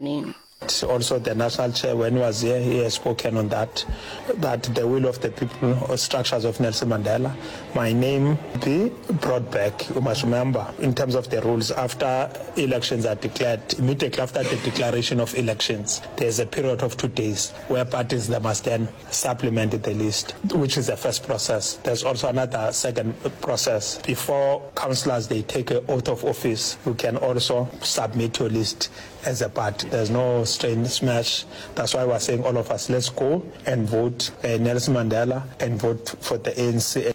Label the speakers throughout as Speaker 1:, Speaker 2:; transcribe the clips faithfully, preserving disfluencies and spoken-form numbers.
Speaker 1: Mabalane.
Speaker 2: Also the national chair when he was here he has spoken on that, that the will of the people or structures of Nelson Mandela, my name be brought back. You must remember in terms of the rules after elections are declared, immediately after the declaration of elections, there's a period of two days where parties they must then supplement the list, which is the first process. There's also another second process. Before councillors they take an oath of office, you can also submit your list as a party. There's no strain smash. That's why we're saying all of us, let's go and vote uh, Nelson Mandela and vote for the A N C.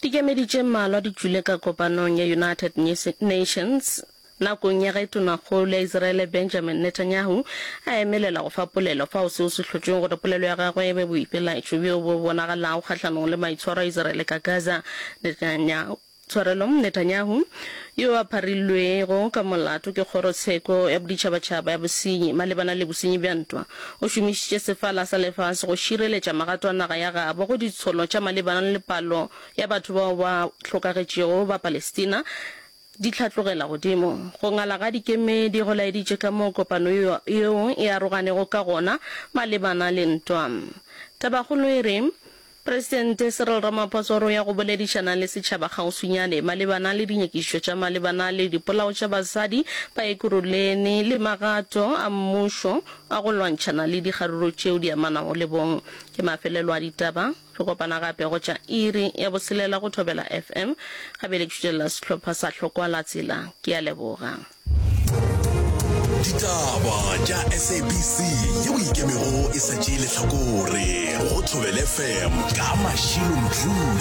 Speaker 1: Dikemedi tše mmalwa di tšwile ka kopanong ya United Nations nakong ya ge tonakgolo ya Israele Benjamin Netanyahu a emelela go fa polelo fao seo se hlotšweng gore polelo ya gagwe e be boipelaetšo bjo bo bonagalago kgahlanong le maitshwaro a Israele ka Gaza. Netanyahu, tshwarelo, Netanyahu, yo a pharilwego ka molato ke kgorotsheko ya boditšhabatšhaba ya bosenyi malebana le bosenyi bja ntwa, o šomišitše sefala sa lefase go šireletša magato a naga ya gabo go ditsholo tša malebana le palo ya batho bao ba hlokagetšego ba Palestina di hlatlogela godimo. Go ngala ga dikemedi go laeditše ka moo kopano yeo e aroganego ka gona malebana le ntwa. Tabakgolo e re, Presidente Cyril Ramaphosa o re o ya go boledišana le setšhaba kgauswinyane malebana le dinyakišišo tša malebana le dipolao tša basadi ba Ekurhuleni le magato a mmušo a go lwantšhana le dikgaruru tšeo di amanago le bong. Ke mafelelo a ditaba. Re kopana gape go tša iri ya boselela go Thobela F M. Ga bjale ke šutelela sehlopha sa Hlokwa la Tsela. Ke a leboga.
Speaker 3: Ditaba tša S A B C yeo e ikemego e sa tšee lehlakore go Thobela F M ka Mashilo Mdluli.